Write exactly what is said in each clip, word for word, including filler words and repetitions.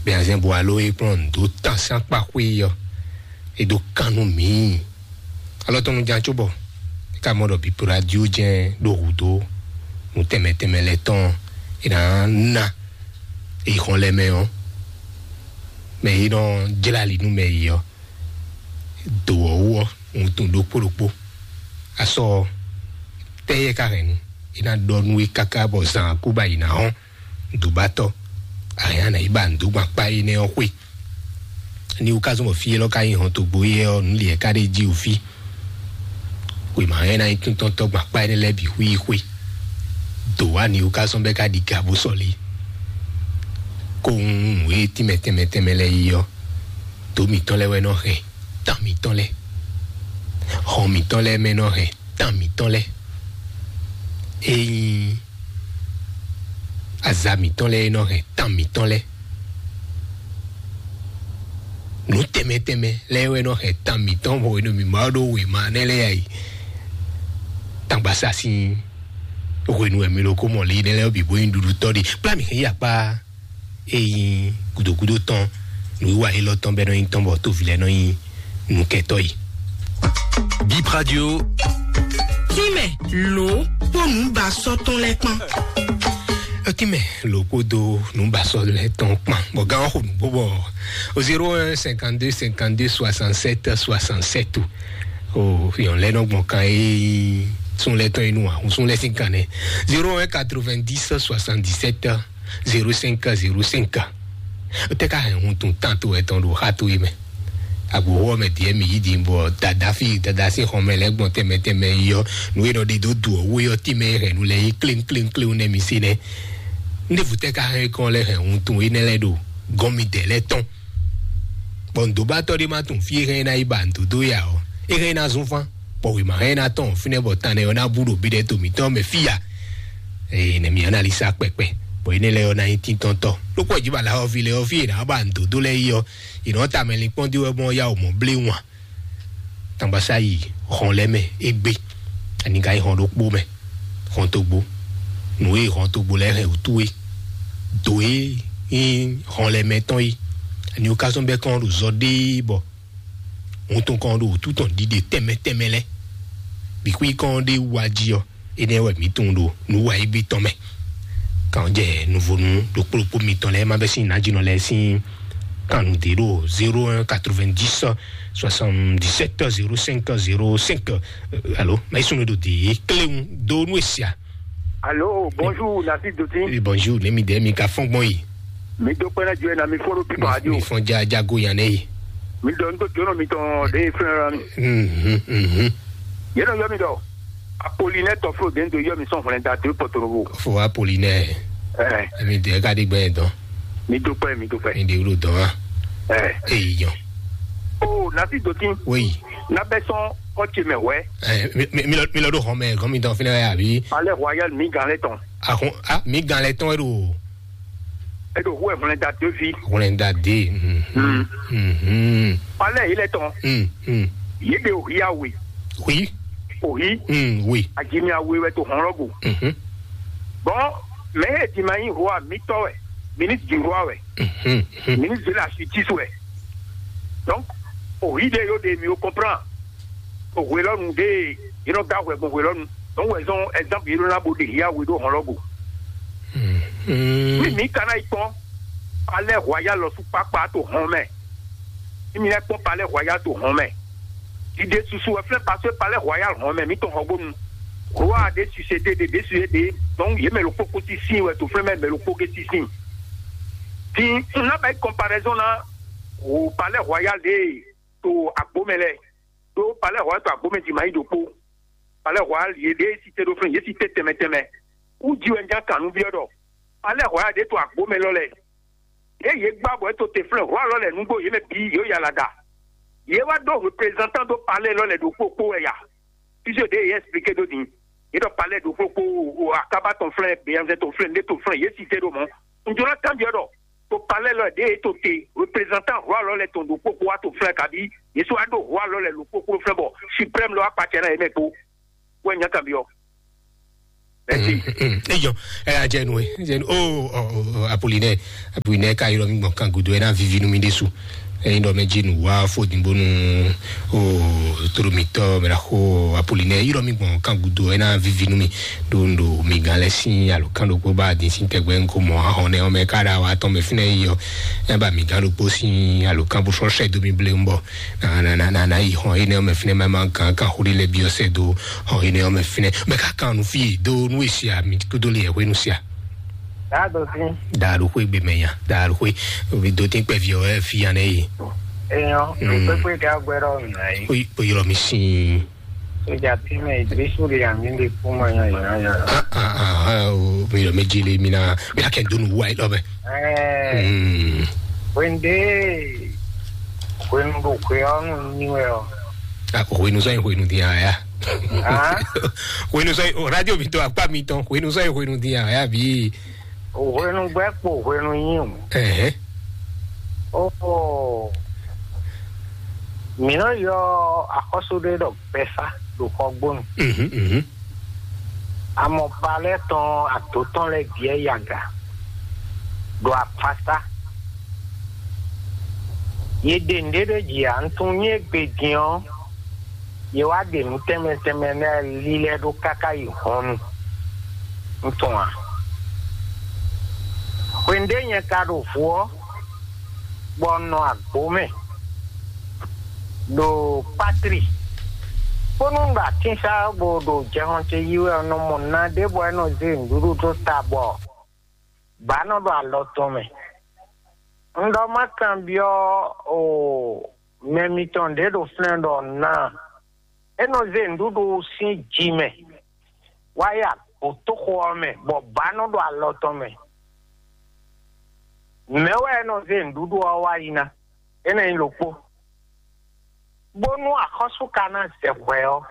Bɛnzɛn Bualo e kplɔ́n nǔ dó tán sín akpa xwé ɔ́, é dó kan nú mǐ. Alɔ tɔn nu ján cóbɔ é ka mɔ ɖɔ Bípo Radio jɛ́n ɖo hǔ dó nǔ tɛnmɛ tɛnmɛ lɛ́ɛ tɔn e ná ná yi xɔn lɛ́ɛ mɛ ɔ́, mɛ e nɔ jlá ali nú mɛ yi ɔ́, do ɔ́ wú ɔ́, wuntun ɖokpó ɖokpó. Asɔ tɛ́ yɛ ka hɛn nu, é ná ɖɔ nú we káká bɔ zan kú ba yi ná hɔn. Dǒbátɔ́, àyàn náà yí ba nǔ dó gbɔn akpá énɛ́ ɔ́ xwé. Ní wú ká zɔ́n bɔ fí élɔ́ ká nyí hɔn togbo éyɛ́ ɔ́, nǔ lǐɛ ká ɖé jí wú fí. Xwéma hɛn ná nyí túntɔ́ntɔ́ gbɔn akpá énɛ́ lɛ́ɛ bǐ xwíxwé. Dǒ wá ní wú ká zɔ́n bɛ́ ká ɖi ga bó sɔ́ lé. Kó nǔ e tínmɛ tɛnmɛ tɛnmɛ lɛ́ɛ yí ɔ́, dǒ mǐtɔn lɛ́ɛ wɛ nɔ hɛn tán mǐtɔn lɛ́ɛ. Hɔn mǐtɔn lɛ́ɛ mɛ nɔ hɛn tán mǐtɔn lɛ́ɛ. Ényí aza mǐtɔn lɛ́ɛ nɔ hɛn tán mǐtɔn lɛ́ɛ. Nǔ tɛnmɛ tɛnmɛ lɛ́ɛ wɛ nɔ hɛn tán mǐtɔn bɔ hwenu mǐ ma ɖó wěma nɛ́ lɛ́ɛ yi. Tangbasásin hwenu wɛ mi ɖo kó mɔ lě nɛ́ lɛ́ɛ bǐ bó nyí ɖuɖutɔ́ ɖe. Kplá mǐ hɛn yi akpá e nyí gǔdógúdó tɔn nǔwiwa élɔ́ tɔn bɛ́ nɔ nyí tɔn bɔ tóvi lɛ́ɛ nɔ nyí nukɛtɔ́ yi. Bip Radio. Tínmɛ lǒ kpó nǔbasɔ́ tɔn lɛ́ɛ kpán. Tínmɛ lǒ kpódó nǔbasɔ́ lɛ́ɛ tɔn kpán. Bɔ gán ɔ́ xo nǔgbó bɔ o zéro un cinquante-deux cinquante-deux soixante-sept soixante-sept o. O yɔn lɛ́ɛ nɔ gbɔn kan e sún lɛ́ɛ tɔn yi nú ahun sún lɛ́ɛ sín kan nɛ. Zéro un quatre-vingt-dix soixante-dix-sept zéro cinq zéro cinq. Tɛ ka hɛn hun tun tan to etɔn ɖo xa to yi mɛ. Agboxo ɔ́ mɛ diɛ mi yi din bɔ dada fi dada sín xɔmɛ lɛ gbɔn tɛmɛ tɛmɛ yi ɔ́, nǔ e nɔ ɖe dó du ɔ́ wó yɔ tí mɛ hɛn nu lɛ yi kléŋ kléŋ kléŋ nɛ mi se nɛ. Ndévu tɛ ka hɛn kɔn lɛ hɛn hun tun énɛ́ lɛ ɖo gɔn mi dɛ lɛ tɔn. Bɔ ndobatɔ ɖé ma tun fi e hɛn ná yi ba ndodo ya ɔ́, e hɛn ná zun fán. Bɔ wěma hɛn ná tɔn fínɛ́ bɔ tan nɛ ɔ́ ná bú ɖo bí ɖɛ to mǐtɔn mɛ fí ya. Ee, nɛ mi analisa kpɛkpɛ. Bɔ énɛ́ lɛ́ɛ ɔ́ ná nyí tíntɔ́ntɔ́. Lókpɔ jí bala ɔ́ fi lɛ ɔ́ fí e ná ba ndodo lɛ yi ɔ́, e nɔ ta mɛ linkpɔ́n dí wɛ mɔ ya o mɔ blé wan. Tangbasáyi hɔn lɛ́ mɛ égbé. Ani ka yi hɔn ɖokpó mɛ, hɔn togbo. Nǔ e hɔn togbo lɛ́ɛ hɛn wútu é. Do e nyí hɔn lɛ́ɛ mɛ tɔn é. Ani o ka sɔn bɛ kɔn ɖo zɔ ɖé bɔ wuntun kɔn ɖo wútu tɔn ɖiɖe tɛnmɛ tɛnmɛ lɛ́ɛ. Bǐ xwí kɔn ɖé wá jí ɔ́, énɛ́ wɛ mǐ tunwun ɖo nǔ wa égbé tɔn mɛ. Kan jɛ nuvonu ɖokpó ɖokpó mitɔn lɛ́ɛ ma bɛ sín nǎjínɔ lɛ́ɛ sín kan nǔ ɖé ɖo zéro un quatre-vingt-dix soixante-dix-sept zéro cinq zéro cinq. Alo, ma yi sunu ɖo de kléwu do nú esia. Alo, bonjour, Nasi Doti. Eh, bonjour, ne mi de mi ka fɔn gbɔn yi. Mi do kpɛn na jɔ na mi fɔn ɖo pipa radio. Mi fɔn ja jago yan ne yi. Mi dɔ n do jonɔ mi tɔn de fɛn ra mi. Mhm, mhm. Yɛn nɔ yɔ mi dɔ. Apolinɛ tɔflo de n do yɔ mi sɔn hwlɛn da de pɔtorobo. Fo Apolinɛ. Eh. Mi de ka di gbɛ dɔn. Mi do pɛ, mi do pɛ. Mi de wlo dɔn wa. Eh. Eyi yɔn. Oh, Nasi Doti. Oui. Na bɛ sɔn kɔ ce mɛ wɛ. Eh, mi, mi, mi lɔ, mi lɔ do hɔn mɛ, gɔn mi dɔn finɛ ya bi. Palais Royal mi gan lɛ tɔn. Ahun, ah, mi gan lɛ tɔn e do. E do hu ɛ hwlɛn da de fi. Hwlɛn da de. Mhm. Mhm. Palais yi lɛ tɔn. Mhm. Yi de o ya we. Oui. O yi. Mhm, oui. Ajimi awe wɛ to hɔn lɔ go. Mhm. Bon, mɛ e di ma nyi roi mitɔ wɛ, ministre du roi wɛ, Mhm, mhm. Ministre de la justice wɛ. Donc, o yi de yo de mi o comprend. O hwelɔnu de yi nɔ ga hwɛ gbɔn hwelɔnu. Donc, wɛ zɔn exemple yi nɔ na bo de ya we do hɔn lɔ go. Mhm. Mi mi kana yi kpɔn. Palais Royal lɔ su kpakpa to hɔn mɛ. Mi mi lɛ kpɔn Palais Royal to hɔn mɛ. Dide susu wɛ flɛ parce que Palais Royal hɔn mɛ mi tɔn hɔn gbonu. Roi de suscité de de suscité de. Donc ye mɛ lo kpokpo ti sin wɛ to flɛ mɛ mɛ lo kpo ke ti sin. Ti n na bɛ comparaison na o Palais Royal de to agbo mɛ lɛ. Do Palais Royal to agbo mɛ di ma yi do kpo. Palais Royal ye de cité do flɛ ye cité tɛmɛ tɛmɛ. U ji wɛ n ja kan nu biɔ dɔ. Palais Royal de to agbo mɛ lɔ lɛ. Ye ye gba bɔ e to te flɛ roi lɔ lɛ nugbo ye mɛ bi yo yala da. Ye wa do représentant do palais lɔ lɛ do kpokpo wɛ ya. Puisque de ye expliqué do din. Ye dɔ palais do kpokpo o akaba tɔn flɛ, beyanzɛ tɔn flɛ, ne tɔn flɛ, ye cité do mɔ. N jona kan biɔ dɔ to palais lɔ de ye to te représentant roi lɔ lɛ tɔn do kpokpo wa to flɛ kabi. Ye so wa do roi lɔ lɛ lo kpokpo flɛ bɔ suprême lɔ akpatsɛ na ye mɛ kpo. Wɛ nya kan biɔ. Eyɔ, ɛ adze nu e adze nu o o o Apollinaire. Apollinaire ka ylɔ mi gbɔn kan gudo ɛ na vivi nu mi ɖesu. Ɛyin ɖɔ mɛ dzi nu wa fo din bonu o toromitɔ mɛ la xo Apollinaire ylɔ mi gbɔn kan gudo ɛ na vivi nu mi. Ɖo ɖo mi gan lɛ sin alo kan ɖokpó ba din sin tɛgbɛ ŋko mɔ ahɔn nɛ ɔmɛ ka ɖa wa tɔn mɛ finɛ yi yɔ. Ɛ ba mi gan ɖokpó sin alo kan bo sɔ sɛ do mi ble ŋbɔ. Na na na na na yi hɔn yi nɛ ɔmɛ finɛ ma ma kan kan xuli lɛ bi ɔsɛ do. Hɔn yi nɛ ɔmɛ finɛ mɛ ka kan nu fi do nu esi a mi kudo le yɛ hwenu sia. Daa do sin. Daa do xwe gbe mɛ nya daa do xwe. Obi do tin kpɛ fi ɔ ɛ fi yan nɛ yi. Eyɔn, Mm. Kpekpe ka gbɛ ɖɔ nà yi. O o yɔrɔ mi sin. Sójà tí mɛ ìgbésù rẹ̀ àmì lè kú mọ́ yan yan yan. Ah ah ah ah o mi yɔrɔ mi jele mi na mi na kɛ do nu wa yi lɔ bɛ. Ɛɛ, Mm. Wende, hwenu ɖo hwe ɔ́ nu nyi wɛ ɔ. Ah, hwenu sɔ yin hwenu din aya. Ah? Hwenu sɔ yin o radio mi to akpa mi tɔn hwenu sɔ yin hwenu din aya bi. Hwenu gbɛ kpo hwenu nyi o. Ɛhɛ. Oh, mǐ nɔ yɔ axɔ́sú ɖé ɖɔ gbɛfá ɖo xɔgbónu. Mhm mhm. Amɔpa lɛ́ɛ tɔn adǒ tɔn lɛ́ɛ biɛ yaga ɖo apasa. Yě ɖe nǔɖé ɖé ji ǎ, un tunwun nyí égbé din ɔ́, yě wá ɖe nǔ tɛnmɛ tɛnmɛ lɛ́ɛ lílɛ́ ɖó káká yi hɔnnu. Un tunwun ǎ. Hwenu ɖé nyɛ ka ɖo vo ɔ́, bɔ un nɔ agbo mɛ ɖo patri, bónú un ɖo atínsá bó ɖo jɛhɔn ce yí wɛ, un nɔ mɔ na ɖé bɔ é nɔ zé nǔɖuɖu dó ta bɔ bǎ nɔ ɖo alɔ tɔn mɛ. Un ɖɔ má kanbyɔ́ o mɛ mitɔn ɖě ɖo flɛ́n ɖɔ ná é nɔ zé nǔɖuɖu sín ji mɛ wá yi agbǒtóxo ɔ́ mɛ, bɔ bǎ nɔ ɖo alɔ tɔn mɛ. Mɛ̌ wɛ é nɔ zé nǔɖuɖu ɔ́ wá yi ná? Énɛ́ nyí ɖokpó. Bónú axɔ́sú ka ná zɛ hwɛ ɔ́,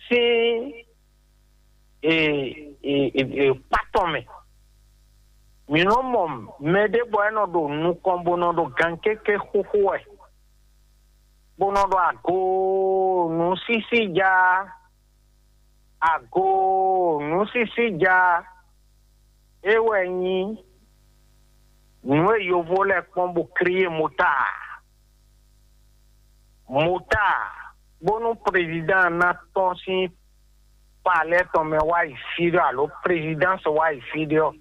sín e, e, e, e, kpá tɔn mɛ. Mǐ nɔ mɔ mɛ ɖé bɔ é nɔ ɖo nukɔn bó nɔ ɖo gankéké xúxú wɛ, bó nɔ ɖɔ ago nǔsísí ja, ago nǔsísí ja, é wɛ nyí nǔ e yovo lɛ́ɛ kpɔ́n bó kríyé mota. Mota, bónú président ná tɔ́n sín palais tɔn mɛ wá yi fí ɖɔ alo présidence wá yi fí ɖɔ,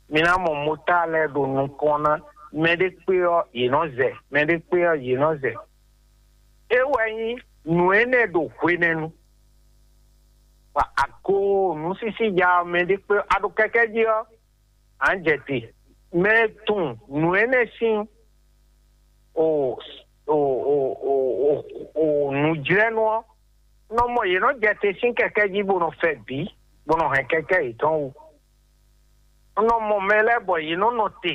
mi ná mɔ mota lɛ́ɛ ɖo nukɔn ná. Mɛ ɖé kpé ɔ́, yě nɔ zɛ. Mɛ ɖé kpé ɔ́, yě nɔ zɛ. É wɛ nyí nǔ énɛ́ ɖo hwenɛ́nu. Bɔ ago nǔsísí ja ɔ́, mɛ ɖé kpé ɔ́, a ɖo kɛkɛ́ jí ɔ́, à ń jɛ te. Mɛ e tunwun nǔ énɛ́ sín o o o o o nǔjlɛ́nú ɔ́, nɔ mɔ yě nɔ jɛ te sín kɛkɛ́ jí bó nɔ fɛ bǐ, bó nɔ hɛn kɛkɛ́ yětɔn wú. Nɔ mɔ mɛ lɛ́ɛ bɔ yě nɔ nɔ te,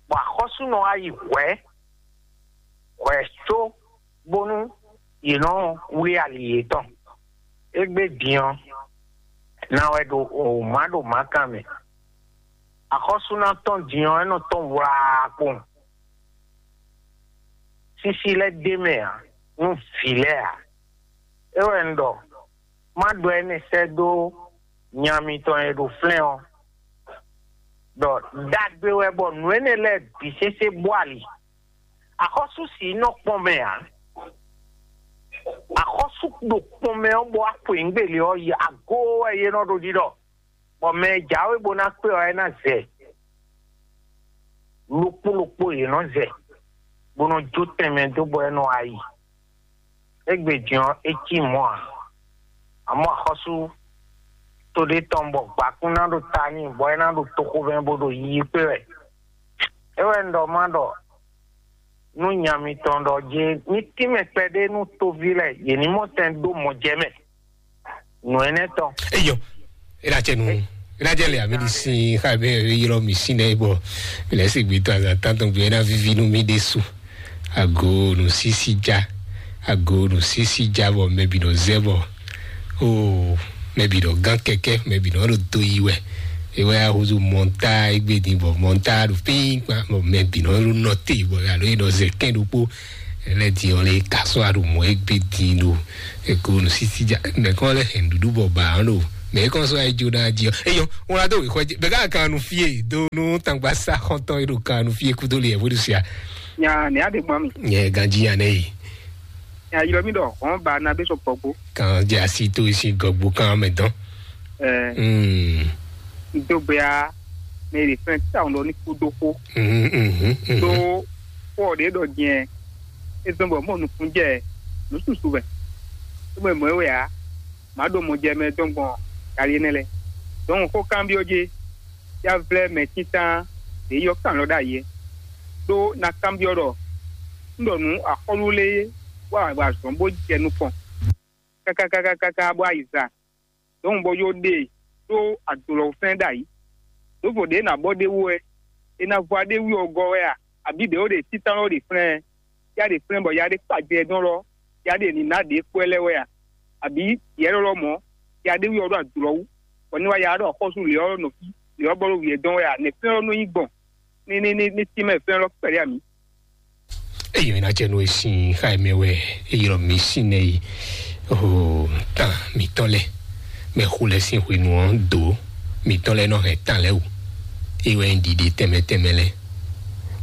bɔ axɔ́sú nɔ wá yi hwɛ̌ hwɛ̌ có bónú yě nɔ wlí ali yětɔn. Égbé din ɔ́, ná wɛ ɖo wǒma ɖo mǎkan mɛ. Axɔ́sú ná tɔn din ɔ́, é nɔ tɔn wlaa kpowun. Sísí lɛ́ɛ ɖ'é mɛ ǎ nú vǐ lɛ́ɛ ǎ. É wɛ un ɖɔ, má ɖɔ énɛ́ sɛ́ dó nya mitɔn e ɖo flɛ́n ɔ́, ɖɔ ɖagbe wɛ bɔ nǔ énɛ́ lɛ́ɛ bǐ sésé bó ali. Axɔ́sú sǐ nɔ kpɔn mɛ ǎ. Axɔ́sú ɖo kpɔn mɛ ɔ́ bɔ wá xwe nǔgbélé ɔ́ yi ago wɛ yě nɔ ɖo ɖiɖɔ, bɔ mɛ e jǎwe bó ná kpé ɔ́, é ná zɛ. Ɖokpó ɖokpó yě nɔ zɛ, bó nɔ jó tɛnmɛ dó bɔ é nɔ wá yi. Égbé din ɔ́, é cí mɔ̌ ǎ. Amɔ̌ axɔ́sú to ɖé tɔn bɔ gbǎkún ná ɖo ta n'i, bɔ é ná ɖo toxovɛ́ bó ɖo yiyi kpé wɛ. É wɛ un ɖɔ má ɖɔ nú nya mitɔn ɖɔ jé ní tínmɛ kpɛɖé nú toví lɛ́ɛ, yě ní mɔ tɛn dó mɔ jɛ mɛ. Nǔ énɛ́ tɔn. Eyɔ, ena cɛ nu, ena cɛ le ami di sin xa be yrɔ mi sin ɖe bɔ mi lɛ si gbi to azan tan tɔn gbi ena vivi nu mi ɖe su. Ago nu sisi ja, ago nu sisi ja bɔ mɛ bi nɔ zɛ bɔ o mɛ bi nɔ gán kɛkɛ, mɛ bi nɔ ɖo do yi wɛ. Ewɛ ahuzu mɔnta egbe din bɔ mɔnta ɖo pin kpa bɔ mɛ bi nɔ ɖo nɔte bɔ alo yi nɔ zɛ kɛn ɖokpo. Ele di ɔn le ka sɔ aɖu mɔ egbe di ɖo eko nu sisi ja mɛ kɔ le hɛn ɖuɖu bɔ ba ɔn ɖo mɛ kɔ sɔ ayi jo na di ɔ eyɔ wọn la do wixɔ jɛ bɛ ka kan nu fie do nu tangba sa xɔntɔn yi ɖo kan nu fie kudo le yɛ vo ɖu sia. Nya ne aɖe gbɔn mi. Nyɛ ganji ya ne yi. Nya yɔ mi ɖɔ hɔn ba na bɛ sɔ gbɔgbo. Kan jɛ asi to isi gɔgbo kan mɛ dɔn. Ɛɛ. Mm. N dó gbe ya mɛ ɖe fɛn ta ɔn ɖɔ ní kú dó xó. Mhm, mhm, mhm. Ɖó xó ɔ́ ɖě ɖɔ jɛn é zɔ́n bɔ mɔ nukúnjɛ nǔ susu wɛ. É mɛ mɔ̌ é wɛ ǎ, mǎ ɖo mɔ jɛ mɛ dɔn gbɔn gali énɛ́ lɛ́ɛ. Dɔn xó kanbyɔ́ jé, yá vlɛ́ mɛ títán ɖě yɔ kan lɔ ɖ'ayǐ é. Ɖó ná kanbyɔ́ ɖɔ un ɖɔ nǔ axɔ́lú lé wá wá zɔn bó jɛ nukɔn káká káká káká bó ayi za. Dɔn bɔ yó ɖe ɖó adolɔfɛn ɖ'ayǐ. Ɖǒvo ɖě ná bɔ ɖ'é wú wɛ, é ná vɔ aɖé wí ɔgɔ wɛ a? Abǐ ɖě ó ɖe títán ɔ́ ɖe flɛ́n? Yá ɖe flɛ́n bɔ yá ɖé kpa jɛ dɔn lɔ, yá ɖe ní ná ɖě kpɔ́ lɛ́ wɛ a? Abǐ yɛ lɔlɔ mɔ̌, yá ɖé wí ɔ́ ɖo adolɔ wú, bɔ ní wá yá ɖɔ xɔ́sú lě ɔ́ nɔ fí, lě ɔ́ bɔ ɖo wǐ ɛ dɔn wɛ a? Nɛ̌ flɛ́n ɔ́ nɔ nyí gbɔn? Ní ní ní ní tínmɛ flɛ́n lɔ kpɛɖé a mǐ? Eyi ɔ́ ná jɛ nú e sín xá e mɛ wɛ e ylɔ́ mi sín nɛ yi. Oho, tán mǐtɔn lɛ mɛ xo lɛ sín hwenu ɔ́ dó mǐtɔn lɛ nɔ hɛn tán lɛ wú. E wɛ nyí ɖiɖe tɛnmɛ tɛnmɛ lɛ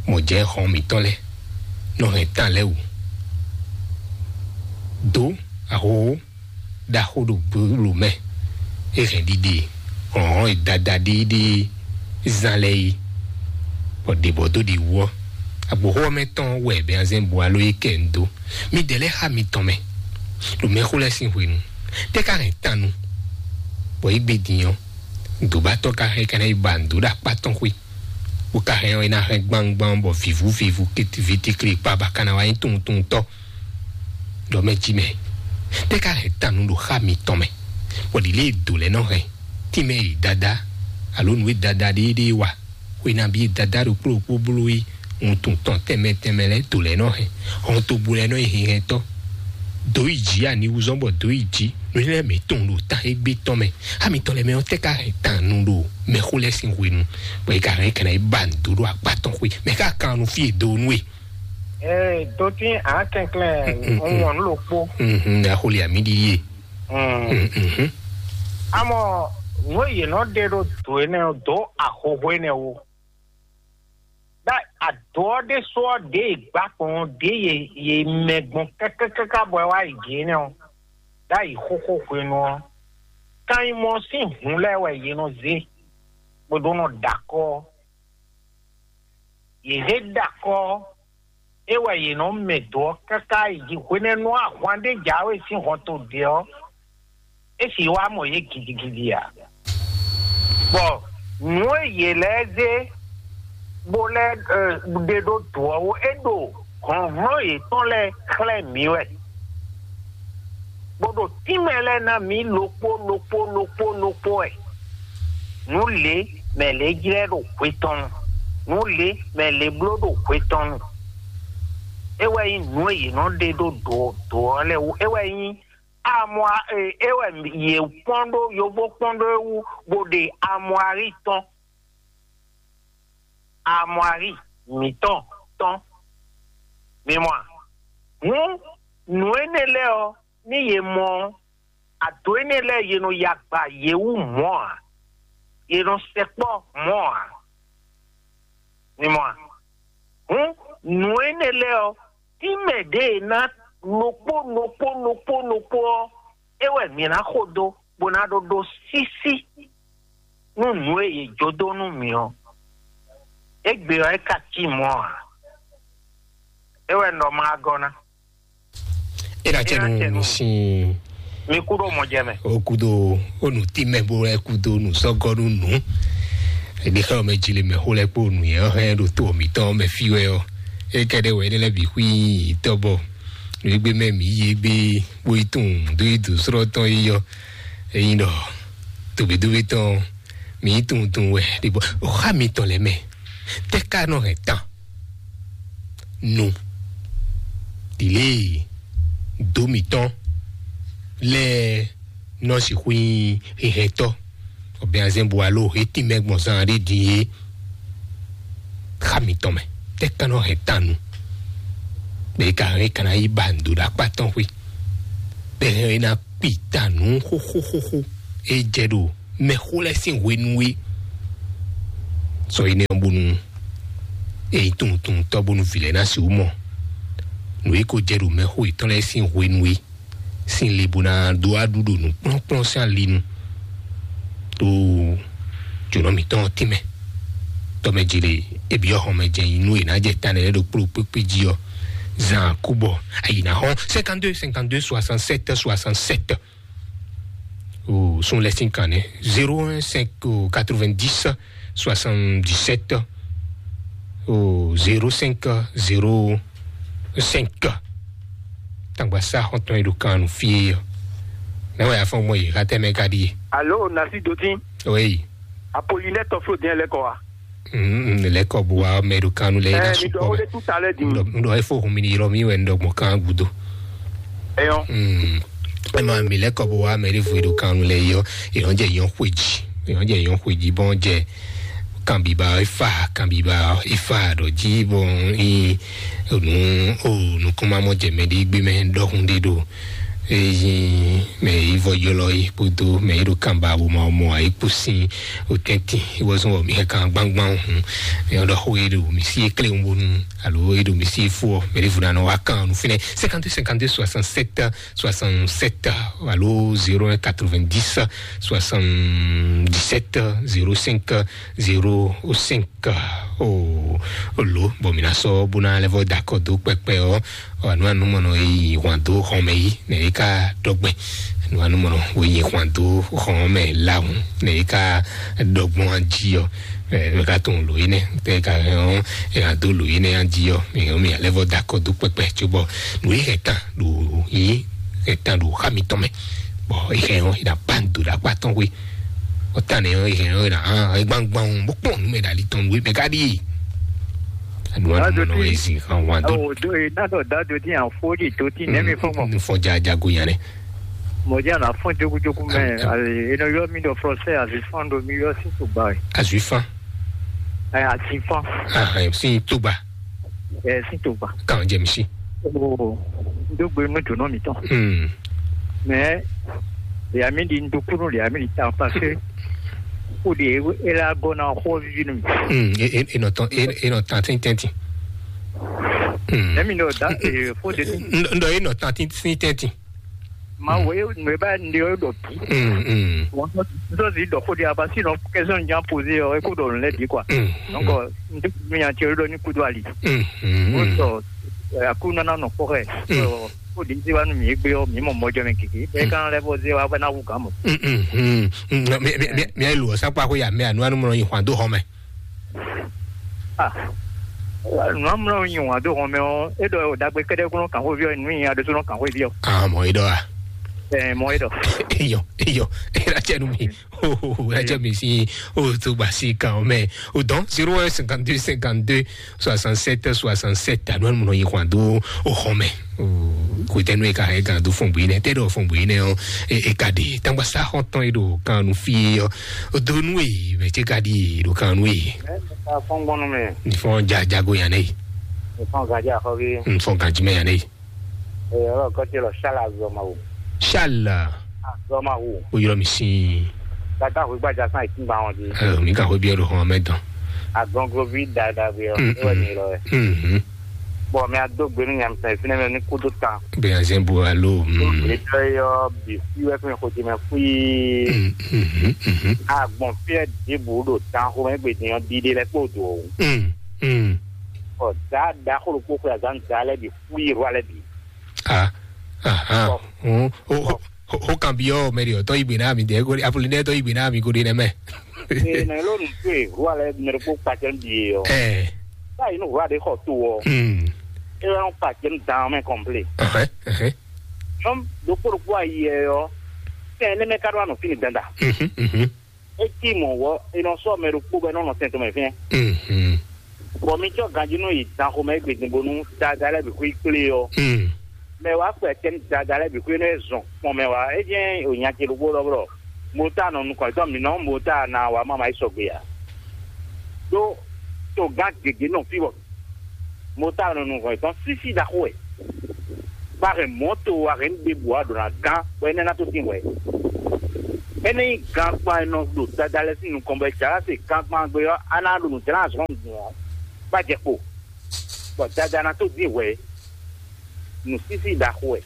mɔ jɛ xɔn mǐtɔn lɛ nɔ hɛn tán lɛ wú. Dó ahoho ɖaxó ɖo gbolo mɛ. E hɛn ɖiɖe hlɔ̌nhlɔ́n e dada ɖéeɖée zán lɛ́ɛ é, bɔ ɖě bɔ dó ɖi wú ɔ́, agboxó ɔ́ mɛ tɔn wɛ bɛnzɛ́n bu alo yi kɛ ń dó. Midɛɛ lɛ́ɛ xá mitɔn mɛ, ɖo mɛxó lɛ́ɛ sín hwenu, tɛ́ ka hɛn tannu, bɔ yi gbe din ɔ́, dǒbatɔ́ ka hɛn ka ná yi ba nǔ dó ɖo akpá tɔn xwé, bó ka hɛn ɔ́, é ná hɛn gbangban bɔ vǐvú vǐvú, vitíkli kpa ba ka ná wá nyí tunwun tunwun tɔ́. Ɖɔ mɛ jí mɛ, tɛ́ ka hɛn tannu ɖo xá mitɔn mɛ, bɔ ɖi lě e dǒ lɛ́ɛ nɔ hɛn tínmɛ e dada alo nǔ e dada ɖéeɖée wa, xwe nabí e dada ɖokpó ɖokpó bló yi wuntun tɔn tɛnmɛ tɛnmɛ lɛ́ɛ dǒ lɛ́ɛ nɔ hɛn, hɔntogbó lɛ́ɛ nɔ yi hinhɛntɔ́, dǒ yi jǐ aniwúzɔ́n bɔ dǒ yi jǐ, nǔ lɛ́ɛ mǐ tunwun ɖo tan égbé tɔn mɛ, xá mitɔn lɛ́ɛ mɛ ɔ́ tɛ́ ka hɛn tannu ɖo mɛxó lɛ́ɛ sín hwenu, bɔ é ka hɛn é ka ná yi ba nǔ dó ɖo akpá tɔn xwé, mɛ ká kan nu fí e dó nú e. Ee, dotín ǎ kɛnklɛ́n, un wɔn nǔ ɖokpó. Mhm, axoli ami ɖi ye. Mm. Mhm. Amɔ nǔ e yě nɔ ɖe ɖó dǒ énɛ́ ɔ́ dó ahohó énɛ́ wú. Ɖá adǒ ɔ́ ɖésú ɔ́ ɖě e gbǎ gbɔn ɔ́ ɖě ye ye mɛ gbɔn kákákáká bɔ é wá yi jǐ énɛ́ ɔ́, ɖ'ayǐ xóxó hwenu ɔ́, kan nyí mɔ sín hǔn lɛ́ɛ wɛ yě nɔ zé, bó ɖó nɔ ɖo akɔ́ ɔ́. Yě zé ɖo akɔ́ ɔ́, é wɛ yě nɔ mɛ dǒ ɔ́ káká yi jí hwenɛ́nu ahwan ɖé jǎwe sín hɔnto ɖě ɔ́, é sì wá mɔ yě gidigidi ǎ. Bɔ nǔ e yě lɛ́ɛ zé bó lɛ́ ɛ, ɖe ɖó dǒ ɔ́ wú, é ɖo hlɔ̌nhlɔ́n yětɔn lɛ́ɛ xlɛ́ mǐ wɛ, bó ɖo tínmɛ lɛ́ɛ ná mǐ ɖokpó ɖokpó ɖokpó ɖokpó wɛ. Nǔ lě mɛ lě jlɛ́ ɖo hwe tɔn nu, nǔ lě mɛ lě bló ɖo hwe tɔn nu. É wɛ nyí nǔ e yě nɔ ɖe ɖó dǒ dǒ ɔ́ lɛ́ɛ wú. É wɛ nyí amwa e é wɛ yě kpɔ́n ɖó yovó kpɔ́n ɖó é wú, bó ɖe amwari tɔn, amwari mǐtɔn tɔn. Mi mɔ a? Hǔn nǔ énɛ́ lɛ́ɛ ɔ́, ní yě mɔ ɔ́, ado énɛ́ lɛ́ɛ yě nɔ ya agba yě wú mɔ̌ ǎ, yě nɔ sɛkpɔ́ mɔ̌ ǎ. Mi mɔ a? Hǔn nǔ énɛ́ lɛ́ɛ ɔ́, tínmɛ ɖě e ná ɖokpó ɖokpó ɖokpó ɖokpó ɔ́, é wɛ mǐ ná xo dó, bó ná ɖó ɖó sísí nú nǔ e yě jó dó nú mǐ ɔ́. Égbé ɔ́, é ka cí mɔ̌ ǎ. É wɛ un ɖɔ ma gɔ́ ná. E na cɛ nu sin. Mi kú ɖo mɔ jɛ mɛ. O kudo o nu ti mɛ bo lɛ kudo nu sɔgɔ nu nu. Ebi xɛ o mɛ dzi le mɛ xo lɛ kpo nu yɛ hɛn ɖo to mi tɔn mɛ fi wɛ ɔ. E kɛ ɖe wɛ ne lɛ bi hui tɔ bɔ. Nu egbe mɛ mi yi egbe bo yi tun do yi du srɔ tɔn yi yɔ. Eyin dɔ. Dobe dobe tɔn. Mi yi tun tun wɛ. De bɔ o xa mi tɔn lɛ mɛ. Tɛ ka nɔ hɛn tan. Nu ɖilé dó mǐtɔn lɛ́ɛ nɔ sixú nyí hihɛntɔ́, ɔbɛazɛn bu alo he tínmɛ gbɔn zan ɖé din é. Xa mǐtɔn mɛ tɛ ka nɔ hɛn tan nu. Bɛ ka hɛn ka ná yi ba ndo ɖo akpa tɔn xwe. Bɛ hɛn ná kpi ta nǔ xóxóxóxó. E jɛ ɖo mɛxó lɛ́ɛ sín hwenu é. Sɔ énɛ́ ɔ́ bónú e nyí tunwuntunwuntɔ́ bónú vǐ lɛ́ɛ ná sixú mɔ nǔ e ko jɛ ɖo mɛxó yětɔn lɛ́ɛ sín hwenu é. Sín le bó ná dó aɖu ɖo nǔkplɔ́nkplɔ́n sín ali nu. Ɖo jǒnɔ mǐtɔn ɔ́ tínmɛ. Tɔmɛjile, ebyɔ́ xɔmɛ jɛ nyi nú è nǎ jɛ ta nɛnɛ ɖo kpló kpékpé jí ɔ́, zan akúbɔ ayǐ ná xɔ́n cinquante-deux cinquante-deux soixante-sept soixante-sept. O sun lɛ sín kan nɛ́: zéro un cinq quatre-vingt-dix soixante-dix-sept o zéro cinq zéro cinq. Tangba sa xɔntɔn yi ɖo kan nu fie. Mɛ wɛ afɔn mɔ yi xatɛ mɛ ka ɖi. Alo, nasi dotin. Oui. Apollinaire tɔflo diɛ lɛ kɔ wa. Mm, lɛ kɔ bu wa mɛ ɖo kan nu lɛ yi na. Eh, mi dɔ sukɔ o mɛ de tout à l'heure di. Ndɔ ndɔ efo hun mi ni yɔrɔ mi wɛ ndɔ gbɔn kan gudo. Eyɔn. Mm. Ema mi lɛ kɔ bu wa mɛ ɖe vo ɖo kan nu lɛ yɔ. Eyɔn jɛ yɔn xwe ji. Eyɔn jɛ yɔn xwe ji bɔn jɛ kanbiba efa kanbiba efa ɖɔ ji bɔn i nu o nukuma mɔ jɛ mɛ ɖe gbe mɛ ɖɔhun ɖe ɖo. Eyin mɛ yi vɔ yɔlɔ yi kpodo mɛ yi ɖo kanba bo ma mɔ ayi kpo sin o tɛntin. Iwɔ zɔn wɔ mi hɛ kan gbangban hun. Mɛ ɔdɔ xo yi ɖo mi si ekle ŋu bonu alo yi ɖo mi si efo ɔ mɛ ɖe vo na nɔ wa kan nu finɛ cinquante-cinquante-soixante-sept soixante-sept alo zéro un quatre-vingt-dix soixante-dix-sept zéro cinq zéro cinq. Ka o lo bɔ mi na sɔ bó na lɛ vɔ da kɔ dó kpɛkpɛ ɔ anu anu mɔnɔ yi hwan dó xɔmɛ yi nɛ yi ka dɔgbɛ anu anu mɔnɔ wo yi hwan dó xɔmɛ lahun nɛ yi ka dɔgbɔn adi ɔ ɛ ka tɔn lo yi nɛ tɛ ka hɛn ɔ ɛ ka do lo yi nɛ adi ɔ mi hɛn mi alɛ vɔ da kɔ dó kpɛkpɛ tso bɔ nu yi hɛn tan ɖo yi hɛn tan ɖo xa mi tɔn mɛ bɔ yi hɛn ɔ yi na ban do ɖa kpa tɔn we. Ɔtane ɔ yɛ ɔ na hã egbangban bó kpɔn nú mɛ ɖali tɔn nú mɛ ká ɖi. Anu anu mɔnɔ ezi hàn wá dó. Awo do e na dɔ da do ti an fo di do ti nɛ mi fɔ mɔ. Nufɔ ja jago yan nɛ. Mɔ ja na fɔn jogo jogo mɛ. Ayi e nɔ yɔ mi dɔ français azi fan do mi yɔ si to ba. Azui fan. Ɛ azi fan. Ah, si to ba. Ɛ si to ba. Kan jɛ misi. O do gbe nu do nɔ mi tɔn. Hmm. Mais les amis di ndukunu les amis di tan parce que o de e la gɔ na xɔ vivi nu. Hmm, e e e nɔ tɔn e e nɔ tan tin tɛntin. Hmm. Emi no da e fo de. N dɔ e nɔ tan tin tin tɛntin. Ma wo e nu e ba ndi o dɔ bi. Hmm, hmm. Wọn sọ si dɔ fo de aba si nɔ kẹsàn jan poze ọ e ko dɔ lẹ bi quoi. Hmm. Donc n tɛ mi yan ti o dɔ ni kudo ali. Hmm, hmm. O sọ akú nana nɔ kpɔ xɛ. Hmm. Ó di zi wa nú mi gbé ɔ́, mi mɔ mɔjɔ mɛ kiki. Ɛ kan lɛ bɔ zi wa bɛ na wu gan mɔ. Mm, mm, mm, mm. Mi mi mi mi ayi lu ɔsa kpa ko ya mi anu anu mɔ yi hwan do hɔn mɛ. Ah. Nu amlɔ yi hwan do hɔn mɛ ɔ́, e dɔ dagbe kɛdɛ kúnɔ kan xó vi ɔ́, nu yi ado sɔnɔ kan xó vi ɔ́. Ah, mɔ yi dɔ a. Ɛ mɔ e dɔ. Eyɔ eyɔ e la cɛ nu mi. Oh, oh, oh, la cɛ mi si. Oh, to ba si kan mɛ. O dɔn zéro un cinquante-deux cinquante-deux soixante-sept soixante-sept anu anu mɔ yi hwan do o hɔn mɛ. Ko tɛ nu e ka hɛn gan do fɔn bui nɛ tɛ ɖɔ fɔn bui nɛ ɔ e ka de tangba sa xɔntɔn e ɖo kan nu fi ɔ o do nu e mɛ ce ka di ɖo kan nu e. Fɔngbɔnu mɛ. Nifɔn ja jago yan ne. Nifɔn gaji axɔvi. Nifɔn gaji mɛ yan ne. Ee, ɔlɔ kɔtɛ lɔ sala azɔmawu. Sala. Azɔmawu. O yɔrɔ mi si. Tata hu gbaja san ìtúngba wọn di. Ɛ mi ka hwe biɛ ɖo hɔn mɛ dɔn. Agɔnglo vi dada bi ɔ. Mm, ewɛ mm. Mi lɔ yɛ. Mhm. Bɔn mi ado gbenu nyamisa yi finɛ mɛ ni kudo tan. Bɛ azɛn bo alo. Mm. Etɔ yɔ bi fi wɛ fún mi xojime fui. Mm, mhm, mhm. Agbɔn fiɛ dibu ɖo tan xomɛ gbedin ɔ dide lɛ kpo do o. Mm, mm. Ɔ da da xolo kpo xwe azan da lɛ bi fui ro alɛ bi. Ah, ah, ah. Bɔn. O o o o kan bi ɔ mɛ de ɔtɔ igbe na mi de ko apoli ne tɔ igbe na mi ko de nɛ mɛ. Ee, na elo nu to e ro alɛ mɛ ko kpacɛ bi ye ɔ. Ɛ. Ba yi nu ro alɛ xɔ to ɔ. Hmm. E wa nu kpacɛ dan mɛ kɔnple. Ɛhɛ, ɛhɛ. Nyɔm dokpo dokpo ayi yɛ ɔ. Fɛn ne mɛ ka do anɔ fini danda. Mhm, mhm. E ti mɔ wɔ e nɔ sɔ mɛ ɖokpo bɛ nɔ nɔ sɛn tɔn mɛ fɛn. Mhm. Bɔn mi tsɔ ganji nɔ yi dan xomɛ gbedin bonu dada lɛ bi xwi kple ɔ. Mhm. Mɛ wa kpɛ tɛn dada lɛ bi xwi nɔ zɔn kpɔn mɛ wa e jɛn o nya ce ɖokpo lɔ blɔ. Mo ta nɔ nukɔn tɔn mi nɔ mo ta na wa mama yi sɔgbe ya. Do to gan gege nɔ fi bɔ mo ta nɔ nukɔn tɔn sisi da xo wɛ. Bá hɛn mɔ̌to, a hɛn ɖěbǔ a ɖǒ ná gán, bɔ énɛ́ ná tó tín hwɛ̌. Énɛ́ nyí gankpan e nɔ ɖo dada lɛ́ɛ sín nukɔn, bɔ è jǎ se gankpan gbe ɔ́, a ná ɖo nǔ jlá azɔn nǔgbó ɔ́, bá jɛ kpo, bɔ dada ná tó dín hwɛ̌. Nǔsísí ɖaxó wɛ.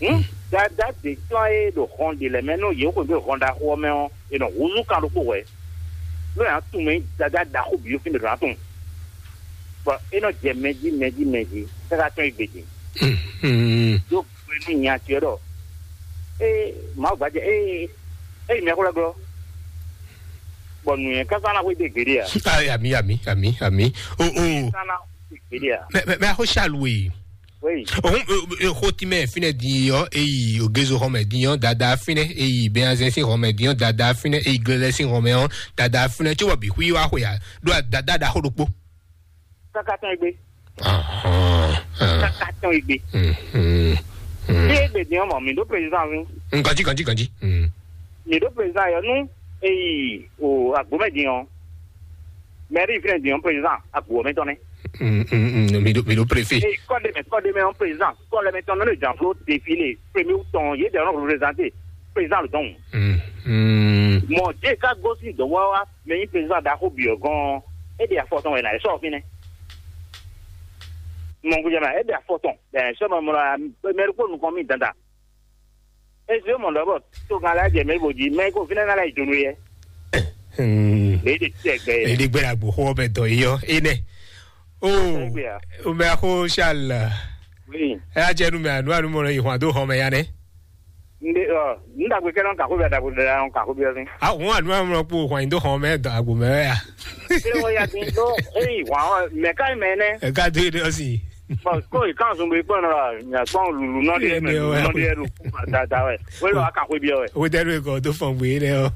Hǔn, dada ɖě tɔn e ɖo hɔn ɖě lɛ́ɛ mɛ nú yě xweyǐgbe hɔn ɖaxó ɔ́ mɛ ɔ́, è nɔ húzú kan ɖokpó hwɛ̌. Nú è nǎ tunwun mɛ nyí dada ɖaxó bǐ ɔ́ fínɛ́ ɖo ná tunwun. Bɔ é nɔ jɛ mɛ jí, mɛ jí, mɛ jí, káká tɔ́n yi gbe din. Ɖó hwenu nya ce ɖɔ, ée Mawu gbajɛ, ée ée mɛ xwlɛ́ glɔ́, bɔ nǔnywɛ́ káká ná xwedó gbeɖé ǎ. Ah, ami, ami, ami, ami. O, o. Káká ná xwedó gbeɖé ǎ. Mɛ, mɛ, mɛ, axó Charles we. Oui. Ohun, e, e, xó tí mɛ fínɛ́ din ɔ́, eyi ogezo xɔmɛ din ɔ́, dada fínɛ́, eyi bɛnazɛn sín xɔmɛ din ɔ́, dada fínɛ́, eyi glɛlɛ sín xɔmɛ ɔ́, dada fínɛ́, cóbɔ bǐ xwí wá xwe ǎ, ɖó dada ɖaxó ɖokpó. Káká tɔn e gbé. Ahɔn, ahɔn. Káká tɔn e gbé. Mhm, mhm. Bí e gbé din ɔ́ mɔ, mǐ ɖó président ví. Mm, ganjí, ganjí, ganjí. Mm. Mǐ ɖó président yɔ nú eyi o agbǒmɛ din ɔ́. Mairie fínɛ́ din ɔ́, président agbǒ ɔ́ mɛ tɔn nɛ́. Mm, mm, mm, mi ɖo, mi ɖo préfet. Eye kɔ́ɖémɛ, kɔ́ɖémɛ ɔ́, président kɔ́lɛmɛ tɔn nɔ ɖo janfló défilé premier août tɔn, yě ɖɛ nɔ représenter président le dɔn. Mm, mm. Mɔ jɛ ká gosín dɔn wá wá, mɛ nyí président ɖaxó bǐ ɔ́ gɔ́n, é ɖe afɔ tɔn wɛ ná é sɔ fínɛ́. Mɔ gúdjɛ mɛ, é ɖe afɔ tɔn, bɛn sɔ mɛ mɔ la, mɛ ɖokpó nukɔn mì dandan. Ezio mɔ ɖɔ bɔ togán lɛ́ɛ jɛ mɛ bo jí, mɛ ko fínɛ́ ná lɛ́ yi jonu yɛ. Hmm. Lě ɖe tɛ gbɛ yɛ. Lě ɖe gbɛ la gbɔ xɔ bɛ dɔ yi yɔ. Ene. O. Tɛ gbɛ ya. O mɛ ko Charles. Oui. Ɛ a jɛ nu mɛ anu anu mɔ yi hwan do hɔn mɛ ya nɛ. Nde ɔ, n dagbe kɛ nɔ kakó bia dagbo da nɔ kakó bia sin. A wọn anu anu mɔ kpo hwan do hɔn mɛ dɔ agbo mɛ ya. Ilé wọn ya dín tó, eyi hwan ɔ, mɛ ká mɛ nɛ. Ɛ ká dé dé ɔsi. Bɔn kó yi kan zun bɛ kpɔn nɔ la, nya kpɔn lulu nɔ de mɛ, lulu nɔ de ɖo kuma dada wɛ. Wɛlɛ wa kan xwe biɔ wɛ. O dɛ ɖo ekɔ do fɔn gbe lɛ ɔ.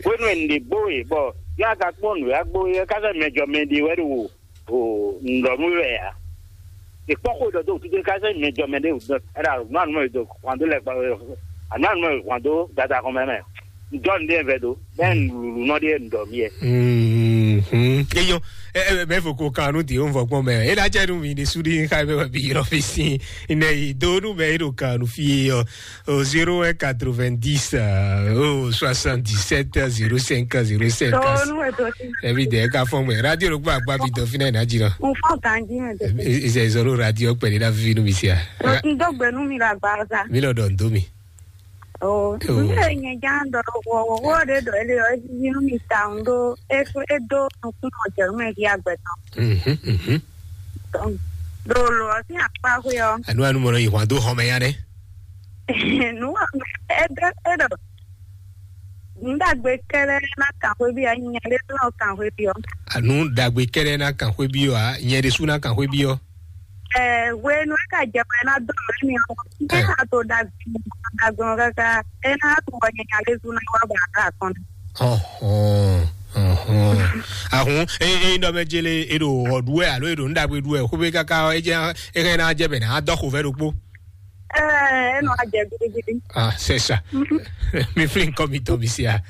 Wenu ɛ nde bo ye bɔ ya ka kpɔn nu ya gbo ye ka sɛ mɛ jɔ mɛ de wɛ ɖo o ndɔ nu wɛ ya. E kpɔn xwe dɔ do tutu ka sɛ mɛ jɔ mɛ de o dɔ ɛda nu anu mɛ do kwan do lɛ kpa anu anu mɛ kwan do dada kɔn mɛ mɛ. Jɔn ɖe vɛ do bɛn lulu nɔ ɖe ndɔ mi yɛ. Mhm. Eyɔ, ɛ ɛ bɛ fo ko kan nu di o vɔ gbɔn mɛ. E da jɛ nu mi de su di ka bɛ bi yɔrɔ fi si. Ne yi do nu bɛ e do kan nu fi yɔ. Au zéro un quatre-vingt-dix, euh, au soixante-dix-sept zéro cinq zéro cinq. Tɔɔ nu wɛ dɔ si. Ebi de ka fɔ mɛ. Radio lo gba gba bi dɔ fi na na jira. N fɔ ganji mɛ dɔ. Ise zoro radio pɛlɛ na fi nu mi sia. N dɔ gbɛnu mi la gba sa. Mi lɔ dɔ n do mi. Oh, oh. N bɛ nyɛ jan dɔ wɔ wɔ wɔ de dɔ ele ɔ esi nu mi ta n do e e do nukun ɔ jɛ nu mɛ di agbɛ tɔn. Mhm, mhm. Donc, ɖo lo ɔ́ sín akpá xwé ɔ́. Anu anu mɔ nɔ yi hwan dó xɔmɛ ya nɛ. Nu ɔ́, é ɖɔ é ɖɔ nǔɖagbe kɛ́ɖɛ́ ná kan xwé bí ɔ́, nyɛ ɖé nɔ kan xwé bí ɔ́. Anu ɖagbe kɛ́ɖɛ́ ná kan xwé bí ɔ́, a nyɛ ɖésú ná kan xwé bí ɔ́. Ɛ hwenu é ka jɛ mɛ ná dó mɛ mi ɔ́, é ná to ɖagbe ɖagbe ɔ́ káká, é ná to wɔ nyɛ nyɛ ɖésú ná wá ba ká kɔn. Ɔhɔn, ɔhɔn. Ahun, e e nɔ mɛ jele e ɖo ɔ ɖu wɛ alo e ɖo nu ɖagbe ɖu wɛ xwé káká ɔ, e jɛ e hɛn na jɛ bɛ na dɔ xo vɛ ɖokpo. Ɛɛ, e nɔ jɛ gidigidi. Ah, c'est ça. Mi fli nkɔ mi tɔ mi sia.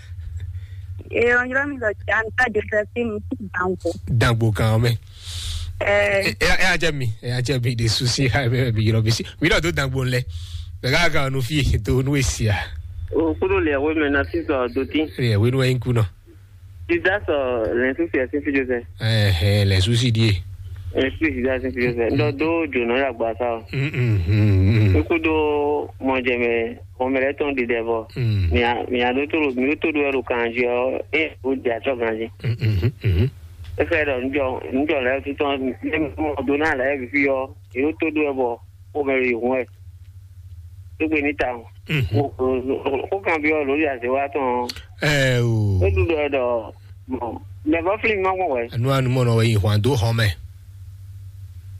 E ɔ nyrɔ mi lɔ ja nta Josephine Dango. Dangbo kan mɛ. Ɛɛ. E e a jɛ mi, e a jɛ mi de susi ha mi mi yɔrɔ mi si. Mi lɔ do dangbo lɛ. Bɛ ka ka nu fi do nu esia. O kudo le we me na si so do tin. E we nu en kuno. Judas, euh, l'insouci est suffisant. Eh, eh, l'insouci dit. L'insouci est suffisant. Donc, do, do, non, la, bah, ça. Mm, mm, mm, mm. Écoute, do, mon Dieu, mais, on me l'a ton de devant. Mm. Mais, mais, à d'autres, mais, tout doit le candidat, et, ou, de la chance, hein. Mm, mm, mm, mm. Et frère, nous, nous, nous, là, tout le temps, même, on donne à la vie, et, tout doit, bon. Xomɛ yi hun wɛ. Égbe ní ta o. Mhm. O, o, o, o kan bi ɔ lórí àzéwá tɔn. Ɛ o. E ɖu ɖɔ ɖɔ mɔ mɛ bɔ fili ma gbɔn wɛ. Anu anu mɔ nɔ wɛ yi hwan dó xɔmɛ.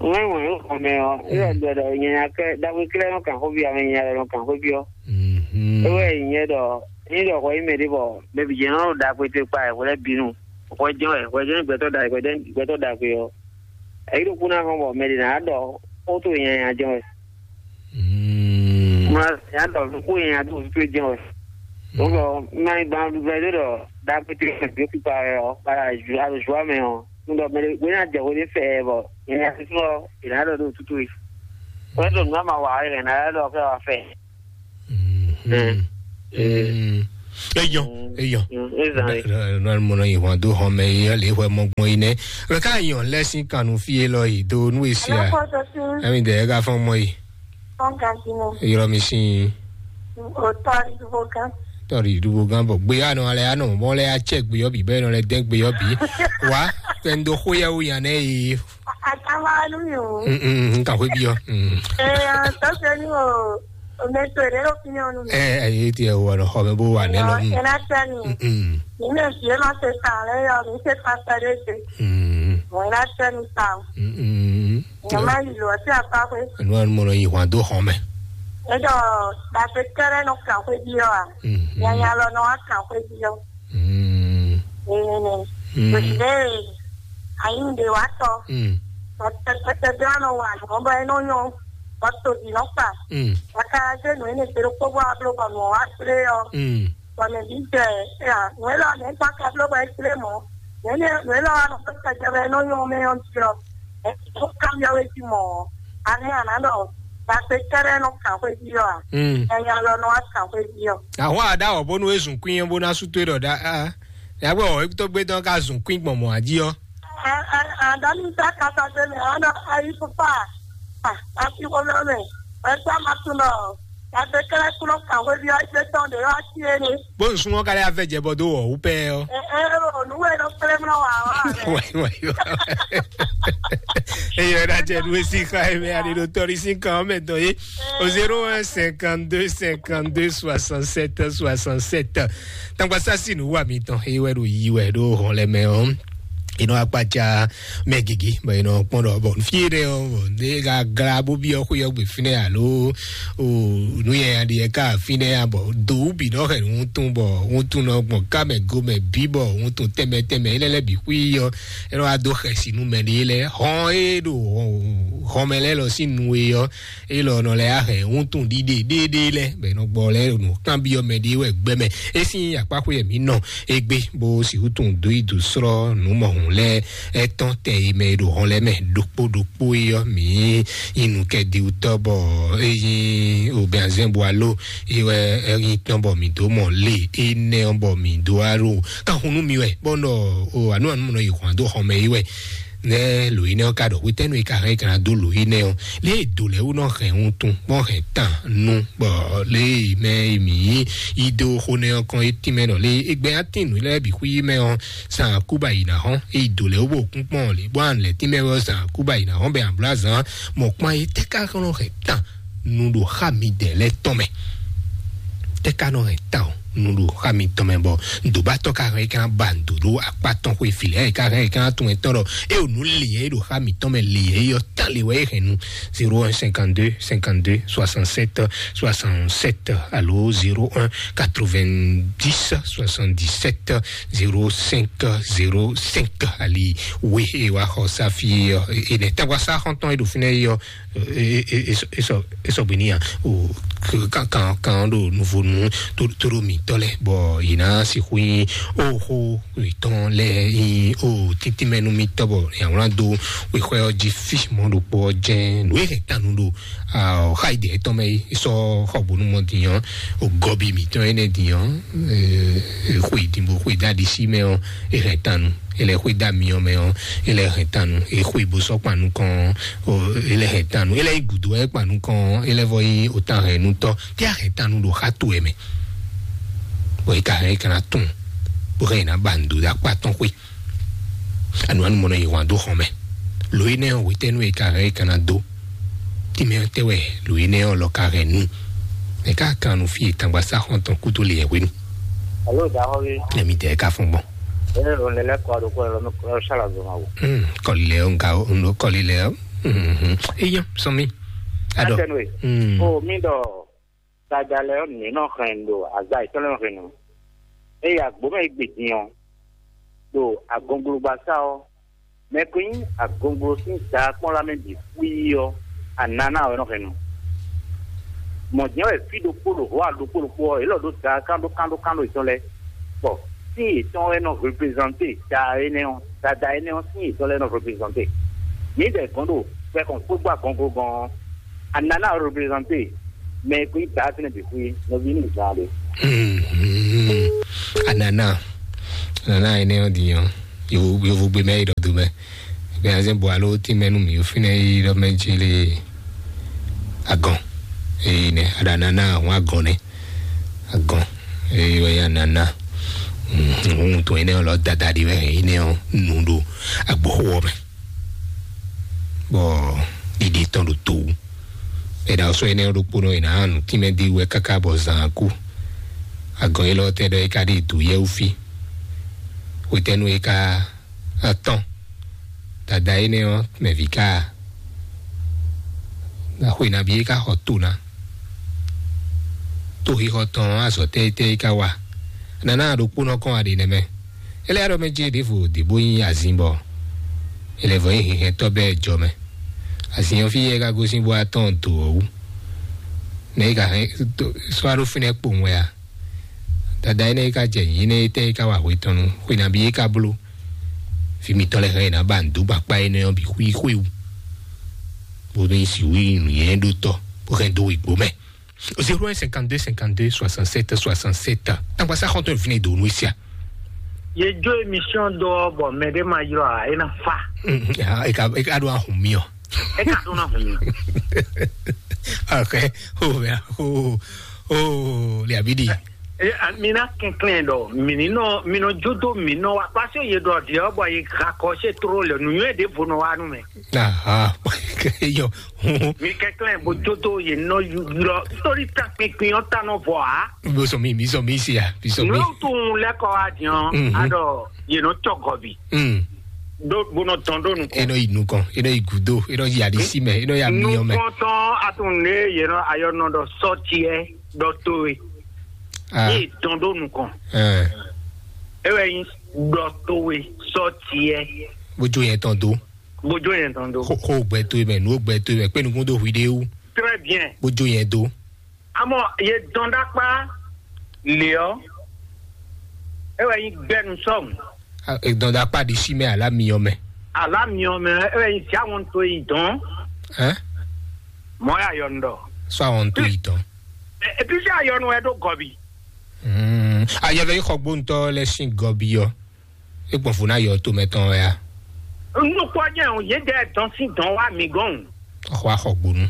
Wọ́n wọ́n yóò xɔmɛ ɔ. E yɔ ɖɔ ɖɔ nyanya kɛ dagbe kílẹ̀ nɔ kàn xó bi ɔ, mɛ nyanya lɔ nɔ kàn xó bi ɔ. Mhm. E wɛ yi nyɛ ɖɔ ní ɖɔ xɔ yi mɛ ɖé bɔ mɛ bi jɛ nɔ ɖo dagbe te kpa ɛ wòlɛ bínú. Xɔ jɛn wɛ, xɔ jɛn gbɛtɔ da, gbɛtɔ da gbe ɔ. Eyi ɖo kú ná hɔn bɔ mɛ ɖě ná ɖɔ xó to nyanya jɛn wɛ. Mm. Mlɔ ya ɖɔ xó nyanya to to jɛn wɛ. Wokɔ mɛ gban vɛ ɖe ɖɔ ɖagbe te ɖo kpikpa wɛ ɔ, kpala alo zua mɛ ɔ, un ɖɔ mɛ ɖe ná jɛ xó ɖé fɛ bɔ Ìyẹn ti fún ọ, ìlànà lọ ló tútù yìí. Wọ́n tó nùgbà máa wà á, ìlànà lọ fẹ́ wà fẹ́. Mm. Mm. Eyɔn, eyɔn. Nɔnɔ mɔnɔ yi hɔn do hɔn mɛ yi le hwɛ mɔ gbɔn yi nɛ. Lɔ ka yɔn lɛ sin kanu fi e lɔ yi do nu esi a. Ɛmi dɛ ɛga fɔn mɔ yi. Yɔrɔ mi sin. Tɔri dubo gan bɔ gbe anɔ alɛ anɔ mɔ lɛ atsɛ gbe yɔ bi bɛ nɔ lɛ dɛ gbe yɔ bi. Wa fɛn do xo yɛ wo yan nɛ yi. Atama nu yo. Mm, mm, mm, ka hwe bi yɔ. Mm. Eh, tɔsɛ ni o. O mɛ to de lo fi yɔ nu. Eh, eh, ye ti e wo no xɔ mɛ bo wa ne lo. Mm. Ena tani. Mm. Ni me fi ma se ta le yo, mi se ta ta de se. Mm. Mo ena tani ta. Mm, mm. Mo ma yi lo ti apa kwe. No an mo no yi hwan do xɔ mɛ. E do ba pe kere no kan kwe bi yo a. Mm. Ya ya lo no a kan kwe bi yo. Mm. Ee, mm. Ee, ayi ɖe wa tɔ. Mm. Tɛtɛtɛ bí ɔnɔ wa nɔ bɔ e nɔ nyɔ bɔ tobi nɔ kpa. Mm. Waka jɛ nɔ ene gbero kpɔbɔ ablo bɔ nɔ wa kple yɔ. Mm. Bɔ mɛ bi jɛ ya nɔ elɔ ne kpa ka blo bɔ e kple mɔ. Nɔ elɔ wa nɔ kpa jɛ bɔ e nɔ nyɔ mɛ yɔ diɔ. E to kam yɔ we ti mɔ. Ani ana dɔ ba se kɛrɛ nɔ kan xwe diɔ a. Mm. Ɛnya lɔ nɔ wa kan xwe diɔ. Àwọn àdá ọ̀bọ nu ezùn kún yẹn bó ná sú tó dọ̀ dá. Yàgbé ọ̀ tó gbé dán ká zùn kún gbọ̀n mọ̀ àjí ọ́. Àdánù tá kata dé mɛ ɔnɔ ayi fúnfà. Àti wọlé mɛ. Ẹgbẹ́ máa tún lọ. Yàgbé kẹ́lẹ́ kúrò kàwé bí ọjọ́ tán lè wá sí ẹni. Bó ń súnmọ́ kálí afẹ́ jẹ bọ́ dó wọ̀ wú pẹ́ ọ́. Ẹ ẹ olùwẹ̀ ló pẹ́lẹ́ mọ́ wà wá. Wáyé wáyé wá. Eyɔ ɖe atsɛ ɖu esi xa eme aɖe ɖo tɔɖi sin kan ɔmɛ dɔn ye. O zéro un cinquante deux cinquante deux soixante sept soixante sept. Tangbasa si nu wa mi tɔn eye wɛ ɖo yi wɛ ɖo hɔn lɛ mɛ ɔ. Inɔ akpatsa mɛ gigi bɔ inɔ kpɔn ɖɔ bɔ fi ɖe ɔ bɔ ne ka gla bó bi ɔ xó yɔ gbe fi nɛ alo o nu yɛ aɖi yɛ ka fi nɛ ya bɔ do bi nɔ hɛ nu tun bɔ ŋutu nɔ gbɔn ká mɛ go mɛ bi bɔ ŋutu tɛmɛ tɛmɛ ilɛ lɛ bi xui yɔ. Enɔ wa do xɛsi nu mɛ ɖe lɛ hɔn e ɖo hɔn mɛ lɛ lɔ si nu e yɔ. Elɔ nɔ lɛ ahɛn ŋutu ɖiɖe ɖeɖe lɛ bɛ nɔ gbɔ lɛ nu kan bi ɔ mɛ ɖe wɛ gbɛ mɛ. Esi akpaxwe yɛ mi nɔ egbe bó si wutun do yi do srɔ nu mɔ hun lɛ. Etɔn tɛ yi mɛ ɖo hɔn lɛ mɛ ɖokpo ɖokpo yi yɔ mi inu kɛ di wutɔ bɔ eyi obɛnzɛn bo alo yi wɛ eyi tɔn bɔ mi do mɔ le enɛ bɔ mi do aro. Kan hun nu mi wɛ bɔ nɔ o anu anu nɔ yi hɔn do hɔn mɛ yi wɛ. Nɛ lǒ énɛ́ ɔ́ ka ɖɔ hwetɛ́nu e ka hɛn é ka ná dó lǒ énɛ́ ɔ́, lě e dǒ lɛ́ɛ wú nɔ hɛn wuntun bɔ hɛn tan nu bɔ lě e mɛ e mǐ yí yi dó xó nɛ́ ɔ́ kɔn é tínmɛ ɖɔ lě e gbɛ ná tín nǔ lɛ́ɛ bǐ xwí mɛ ɔ́, zan kúba yi ná hɔn é yi dǒ lɛ́ɛ wú bó kún kpɔ́n lě bó ná lɛ̌ tínmɛ wɛ ɔ́, zan kúba yi ná hɔn bɛ ablázan mɔ kpán é tɛ́ ká nɔ hɛn tan nu ɖo xá midɛɛ lɛ́ɛ tɔn mɛ. Tɛ́ ka nɔ hɛn tawun nu ɖo xá mitɔn mɛ bɔ dǒbátɔ́ ka hɛn é ka ba nǔ ɖo akpá tɔn xwe fi lɛ́ɛ é ka hɛn é ka tunwun tɔn ɖɔ é o nǔ leyɛ é ɖo xá mitɔn mɛ leyɛ é yɔ tán le wɛ é hɛn nu. Zéro un cinquante deux cinquante deux soixante sept soixante sept alo zéro un quatre vingt dix soixante dix sept zéro cinq zéro cinq ali we é wá xɔ sáfì é nɛ tɛgbasa xɔntɔn é ɖo fínɛ é yɔ. Esɔgbe ní ya o kan kan kan ɖo nuvonu todo mitɔ lɛ bɔ yina sixu yin o xo itɔn lɛ yin o tintinmɛnu mitɔ bɔ yawlan do wexɔ ɔ́ jí fi mɔ ɖokpo ɔ́ jɛn nǔ e hɛn tanu ɖo xa ide etɔn mɛ yi sɔ xɔbonu mɔ diyan o gɔbi mitɔ enɛ diyan xwe idinbo xwe dadi si mɛ ɔ e hɛn tanu ele xwe da miɔ mɛ ɔ ele hɛn tanu e xwe bo sɔ kpanu kɔn o ele hɛn tanu ele yi gudo ɛ kpanu kɔn ele vɔ yi o tan hɛn nu tɔ te a hɛn tanu ɖo xa to ɛ mɛ bɔ yi ka hɛn yi kana tun bó hɛn yi na ba ndo da kpa tɔn xwe anu anu mɔnɔ yi hwan do xɔn mɛ lo yi nɛ wetɛnu yi ka hɛn yi kana do tìmɛ tɛ wɛ lo yi nɛ ɔ lɔ ka hɛn nu ɛ ka kan nu fi tangba sa xɔn tɔn kuto le yɛ hwenu. Alo da xɔ wi. Ɛmi tɛ ka fún gbɔn. Ene lo ne lɛ kɔ do kɔ lo me kɔ sala zo ma wo. Hmm, kɔli lɛ o nka o ndo kɔli lɛ o. Mhm. Eyan sɔmi. Adɔ. Atɛnue. Hmm. O mi dɔ dada lɛ o ne nɔ hɛn do aza itɔ lɛ hɛn no. Eya gbome gbedin o. Do agonglogbasa o. Mɛ ko nyí agonglo sín daa kpɔ́n lá mɛ bǐ xwíí ɔ́, anana wɛ nɔ hɛn nu. Mɔ̌ jɛ́n wɛ fí ɖokpó ɖo hɔ̌ ɖokpó ɖokpó ɔ́, yě lɔ ɖó daa kán ɖó kán ɖó kán ɖó yětɔn lɛ́ɛ, bɔ sín yětɔn wɛ nɔ reprezante daa énɛ́ ɔ́, dada énɛ́ ɔ́ sín yětɔn lɛ́ɛ nɔ reprezante. Mi dɛ gɔn ɖo fɛ kɔn kpé gbɔ agɔngogɔn ɔ́, anana représenter, mais kui ta fínɛ bi kui nɔvi ní zan le. Hmm, hmm. Anana, anana ene ɔ́ din ɔ́, yovo yovo gbe mɛ yi ɖɔ do mɛ. Bɛ azɛ bo alo ti mɛ nu mi yo fínɛ yi ɖɔ mɛ jele agɔn. Eyi nɛ aɖa anana ahun agɔn nɛ. Agɔn. Eyi wɛ ya nana. Hmm, ohun to ene ɔ́ lɔ dada ɖi wɛ ene ɔ́ nu ɖo agboxo ɔ́ mɛ. Bɔ ɖiɖi tɔn ɖo to wú. È ɖa sɔ́ énɛ́ ɖokpónɔ è nǎ nǔ tínmɛ dó wɛ káká bɔ zǎn kú. Agɔn élɔ́ tɛ́ ɖɔ é ka ɖi dǒ yɛ́wú fí. Hwetɛ́nu é ka atɔ́n. Dada énɛ́ ɔ́ mɛ vǐ ká a? Xwe nabí é ka xɔ to ná? Toxixɔ tɔn ɔ́, azɔ̌ tɛ́ tɛ́ é ka wa? Nana ɖokpónɔ kɔn a ɖe nɛ́ mɛ? É lɛ́ ɖɔ mɛ jɛ ɖěvo ɖě bó nyí azin bɔ è lɛ́ vɔ nyí hɛnhɛntɔ́ bɛɛ jɔ mɛ. Azin ɔ́ fí yɛ ka gosín bó wá tɔn do ɔ́ wú. Nɛ̌ é ka hɛn sɔ́ ɖó fínɛ́ kpowun wɛ a? Dada énɛ́ é ka jɛ nyǐ nɛ́ é tɛ́ é ka wa hwe tɔn nu? Xwe nabí é ka bló? Vǐ mitɔn lɛ́ɛ hɛn è nǎ ba nǔ dó gbe akpá énɛ́ ɔ́ bǐ xwíxwíwu, bó nú nyí si wú nǔnywɛ́ ɖó tɔ́, bó hɛn dó wegbo mɛ. Zéro un cinquante-deux cinquante-deux soixante-sept soixante-sept. Tangba sa xɔntɔn vine do nu sia. Ye jó émission dɔ bɔ mɛ ɖé ma ylɔ a, é ná fa. Mm, mm, ah, e ka e ka ɖo ahun mi ɔ. É ka ɖó ná hun mi. Ok. Oh, mɛ, oh, oh, le abidi. Eh, ah, mi ná kɛnklɛn ɖɔ mi ní nɔ mi nɔ jódó mi nɔ wa kpásí ye ɖɔ ɖiɛ bɔ ye gakɔ se tró le nǔnywɛ ɖěvo nɔ wa nú mɛ. Aha. Eyɔ. Mi kɛnklɛn bó jódó ye nɔ ylɔ sórí ta kpinkpin ɔ́ ta nɔ vɔ a. Bisɔmi, bisɔmi sia, bisɔmi. Nú tún lɛkɔ wa diɔn. Mhm. Adɔ ye nɔ tɔ gɔbi. Mm. Ɖó bó nɔ tɔn ɖó nukɔn. E nɔ yi nukɔn, e nɔ yi gudo, e nɔ yi alisi mɛ, e nɔ yi amiyɔ mɛ. Nukɔntɔn atún ne ye nɔ ayɔ nɔ ɖɔ sɔtiɛ ɖɔ towe. Ah. Yé dɔn ɖó nukɔn. Eh. E wɛ nyi ɖɔ towe sɔtiɛ. Bójú yẹn tán dó. Bójú yẹn tán dó. Xó xó gbɛ tó mɛ, nú gbɛ tó mɛ, pé nukún dó hui ɖé wú. Très bien. Bójú yẹn dó. Amɔ ye dɔn ɖakpa lé ɔ. E wɛ nyi gbɛnu sɔm. Ah, e dɔn ɖakpa ɖi sí mɛ alá mi ɔ mɛ. Alá mi ɔ mɛ, e wɛ nyi sia wɔn to yi dɔn. Hein? Mɔ ya yɔ ndɔ. Sɔ àwọn tó yìí tán. Epi sɛ ayɔnu ɛ ɖo gɔbi. Mm. Ayɛvɛ yi xɔ gbóntɔ lɛ sin gɔbi ɔ. E gbɔn fo na yɔ to mɛ tɔn ya. Nukpɔ jɛ o, ye dɛ dɔn sin dɔn wa mi gɔn. Xɔ axɔ gbonu.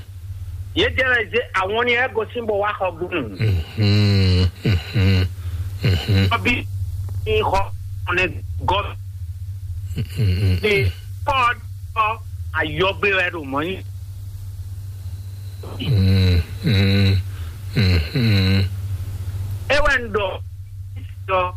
Ye dɛ ze àwọn ni ɛ gosin bo wa xɔ gbonu. Mhm, mhm, mhm. Gɔbi ni xɔ ne gɔbi. Mhm, mhm. Ni kɔ dɔ ayɔgbe wɛ ɖo mɔ nyi. Mm, mm, mm, mm. E wɛ n ɖɔ ɖɔ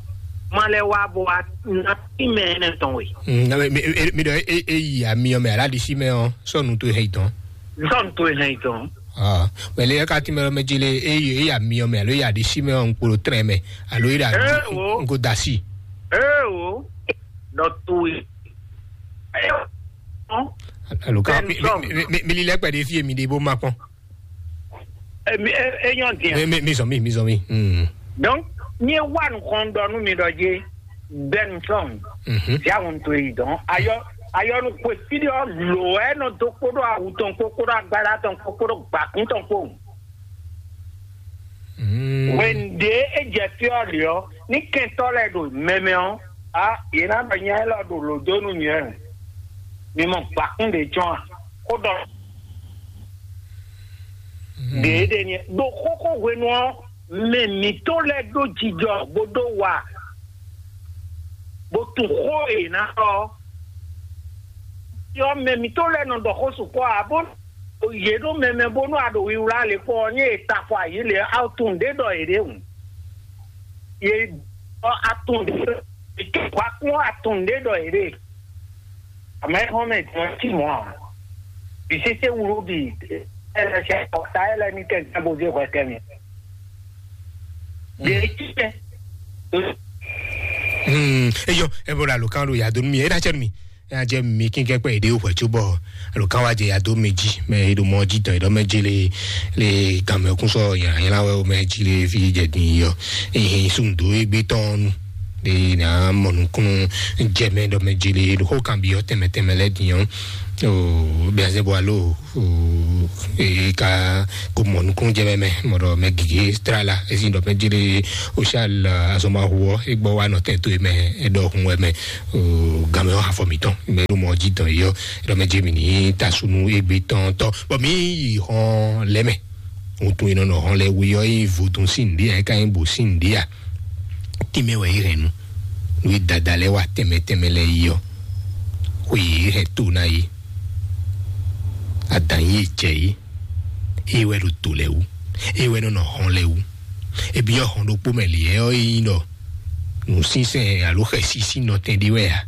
malɛ wa bo wa na ti mɛ ne tɔn we. Mm, na mi mi mi ɖɔ e e yi ami ɔ mɛ ala ɖi si mɛ ɔ sɔnu to hɛn tɔn. Sɔnu to hɛn tɔn. Ah, mɛ le ka ti mɛ lɔ mɛ dzi le e yi e yi ami ɔ mɛ alo e yi aɖi si mɛ ɔ nkpolo trɛ mɛ alo e yi aɖi Eh, wo. Nko dasi. Ee o, ɖɔ to we. Alo ka mi mi mi mi li lɛ kpɛ de fi mi de bo ma kpɔn. Enyɔ diɛ. Mi mi mi zɔn mi mi zɔn mi. Hmm. Donc, mi wa nukɔn dɔ nu mi dɔ je bɛnu sɔn. Mhm. Ya hun to yi dɔn. Ayɔ ayɔ nu kwe fi de ɔ lo ɛ nɔ do kpodo awu tɔn kpo kpodo agbada tɔn kpo kpodo gbakun tɔn kpo. Mm. Wɛnde e jɛ fí ɔ́ ɖe ɔ́, ní kɛntɔ́ lɛ́ɛ ɖo mɛmɛ ɔ́, a yě ná ɖɔ nya élɔ́ ɖo lǒ dó nú nyɛ. Mi mɔ gbǎkún ɖě cɔ́n a? Xó ɖɔ Mm. Ɖě ɖe nyɛ ɖo xóxó hwenu ɔ́, mɛ mǐtɔn lɛ́ɛ ɖó jijɔ bó ɖó wa, bó tunwun xó e è nǎ ɖɔ ɔ́. Yɔ mɛ mǐtɔn lɛ́ɛ nɔ ɖɔ xó sukpɔ́ ǎ, bó yě ɖó mɛmɛ bónú a ɖo wiwlá le kpɔ́ ɔ́, nyɛ e ta afɔ ayǐ le ɔ́, a tunwun ɖě ɖɔ yě ɖe hǔn. Yě ɖɔ a tunwun ɖě ɖɔ yě ɖe. Atún ɖé ɖɔ yě ɖe. Àmọ́ ẹ hɔn mɛ jọ tí mɔ a. Bisese wulu bi ẹ lɛ sɛ ɔta ẹ lɛ ní kɛ gbàgbó dé hwɛ kɛ mi. Ɖe tí kɛ. Hmm, eyɔ, ebo la lo kan lo ya do mi, e da cɛ mi. Ya jɛ mi kin kɛ kpɛ ede o hwɛ tso bɔ lo kan wa jɛ ya do mi ji, mɛ e do mɔ ji tɔn e dɔ mɛ ji le le gan mɛ kun sɔ yàn yàn la wɛ o mɛ ji le fi jɛ din yɔ. Ehin sun do egbe tɔn nu. ɖe ná mɔ nukúnnú jɛmɛ ɖɔ mɛ jele ɖo xó kan byɔ́ tɛnmɛ tɛnmɛ lɛ́ɛ din ɔ́. Bɛnzɛn bɔ alo e ka ko mɔ nukúnnú jɛmɛ mɛ mɔ ɖɔ mɛ gige tra la ezi ɖɔ mɛ jele o sal azɔmahu ɔ e gbɔ wa nɔ tɛn to e mɛ e ɖɔ hun wɛ mɛ. Gamɛ ɔ afɔ mitɔn mɛ ɖo mɔ jí dɔn yi ɔ, ɖɔ mɛ jɛ mi ní tasunu egbe tɔn tɔ bɔ mi yi hɔn lɛ mɛ. Ohun tun e nɔ nɔ hɔn lɛ we ɔ́, ényí vodun sín nǔɖé ǎ, é ka nyí bǒ sín nǔɖé ǎ. Tínmɛ wɛ é hɛn nu. Nú é dada lɛ́ɛ wa tɛnmɛ tɛnmɛ lɛ́ɛ yi ɔ́, xwe yě hɛn to ná é. Adǎn yí é jɛ é. É wɛ ɖo to lɛ́ɛ wú. É wɛ nɔ nɔ hɔn lɛ́ɛ wú. É byɔ́ hɔn ɖokpó mɛ lě ɔ́, é nyí ɖɔ nǔsínsɛn alo xɛsi sín nɔtɛn ɖé wɛ ǎ.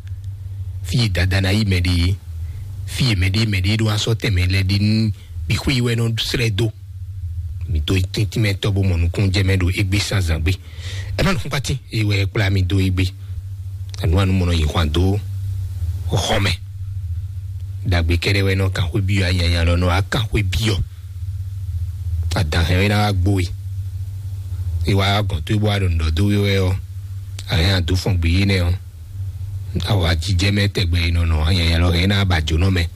Fí e dada ná yi mɛ ɖe é, fí e mɛɖé mɛɖé ɖó asɔ́ tɛnmɛ lɛ́ɛ ɖe nú mǐ xwé yi wɛ nɔ srɛ́ dó. Mǐ dó tíntímɛtɔ́ bó mɔ nukúnnú jɛ mɛ ɖo égbé sán zǎn gbé. Ɛ má nukúnkpátín e wɛ kplá mi dó égbé. Anu anu mɔ nɔ yi hwan dó xɔ mɛ. Ɖagbe kɛɖɛ wɛ nɔ kan xwé byɔ́ anyanya lɔ nɔ wá kan xwé byɔ́. Adǎn hɛn wɛ ná wá gbó we. E wá gɔn tó e bó wá ɖo nǔ ɖɔ dó we wɛ ɔ́, a hɛn a dó fɔn gbé yé nɛ ɔ́. Awǎjijɛ mɛ tɛgbɛ e nɔ nɔ nyanya lɔ hɛn ná ba jǒnɔ mɛ.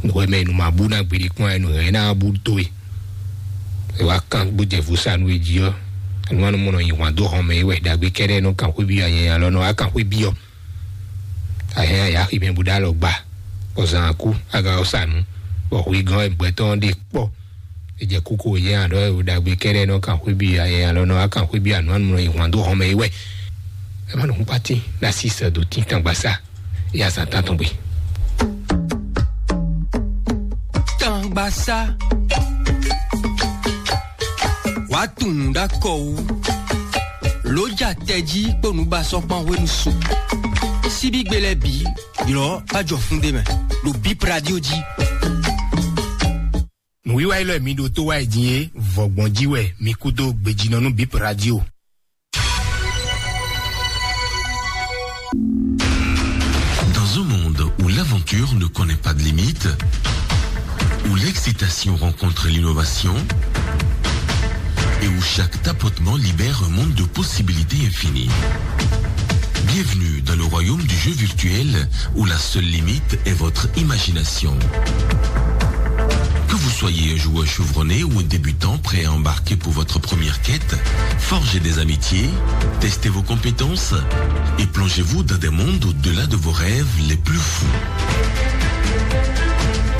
Nǔwɛ mɛ nu ma bú ná gbeɖé kpɔ́n ɛ nu hɛn ná bú dó e. E wá kán bó jɛ vo sa nú e jí ɔ́, anu anu mɔ nɔ nyi hwan dó hɔn mɛ e wɛ ɖagbe kɛɖɛ nɔ kan xwé byɔ́ nyanya lɔ nɔ wá kan xwé byɔ́. A hɛn a yǎ xi mɛ bó ɖó alɔ gba, bɔ zan kú, a ka ɔ sa nǔ, bɔ hwegán wɛ gbɛtɔ́ ɖe kpɔ́. E jɛ kókó yɛ aɖɔ ɖagbe kɛɖɛ nɔ kan xwé byɔ́ yɛ alɔ nɔ wá kan xwé byɔ́ anu anu nɔ yi hwan dó hɔn mɛ yi wɛ. Ɛ má nɔ hun pati na si sɛ do tín tangba sa. Ya sa tán tɔn gbe. Tangba sa. Wàá tunwun ɖó akɔ wú. Ló ja tɛjí kpó nǔbasɔ́kpán hwenu su. Síbígbe lɛ́ɛ bǐ, ylɔ̌ bá jɔ fún ɖé mɛ, ɖo Bip Radio jí. Nǔwiwa élɔ́ e mi ɖo tó wá yi din é, vɔ̌gbɔn jí wɛ mi kú dó gbejínɔ nú Bip Radio. Dans un monde où l'aventure ne connaît pas de limite, où l'excitation rencontre l'innovation et où chaque tapotement libère un monde de possibilités infinies. Bienvenue dans le royaume du jeu virtuel où la seule limite est votre imagination. Que vous soyez un joueur chevronné ou un débutant prêt à embarquer pour votre première quête, forgez des amitiés, testez vos compétences et plongez-vous dans des mondes au-delà de vos rêves les plus fous.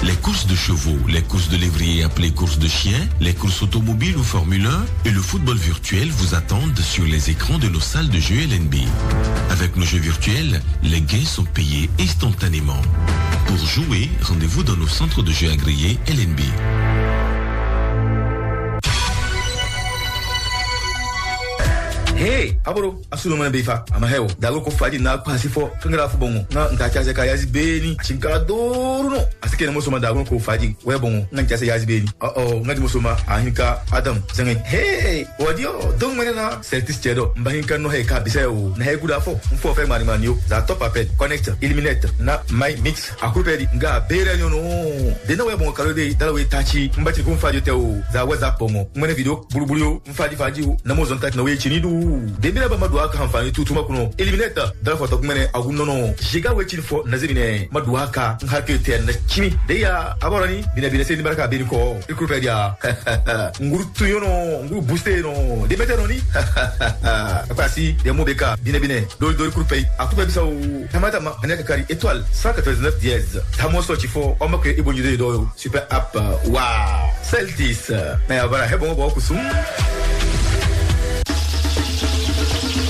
Les courses de chevaux, les courses de lévrier appelées courses de chiens, les courses automobiles ou Formule un et le football virtuel vous attendent sur les écrans de nos salles de jeu L N B. Avec nos jeux virtuels, les gains sont payés instantanément. Pour jouer, rendez-vous dans nos centres de jeu agréés L N B. Hey, aboro, asunu mɛ be fa, ama heo. Dago ko faji na kwa si fo, kangara fu bongo. Na nta cha se ka yazi beni, chinka doru no. Asike na mo soma dago ko faji, we bongo. Na cha se yazi beni. Oh oh, na mo soma, ahinka Adam. Zenge, hey, wadio, dong mene na, seltis chedo. Mba hinka no he ka bise o. Na he kuda fo, mfo fe mani mani yo. Za top apel, connect, eliminate, na my mix. Akupeli nga bere nyono. Dena we bon kalo de dala we tachi. Mbati kun fa jote o. Za we za pongo. Mene video bulubulu yo. Mfadi fadi o. Na mo zon tachi na we chini du. Dembele ba madua ka hanfani tutu makuno. Eliminate. Dala foto mene agun nono. Jiga we chini fo na zemine. Madua ka. Nhake te na chini. De ya aborani. Bina bina se ni baraka bini ko. Ikupeli ya. Nguru tuyono. Nguru booster no. Demete no ni. Pasi de mo beka. Bina bina. Dori dori kurupe. Akupe bisa o. Tama tama. Anya kakari étoile cent quatre-vingt-dix-neuf dièse. Tamo so chifo. Omo ke ibo nyudo do. Super app. Wow. Celtis. Na ya bara hebo bo kusum.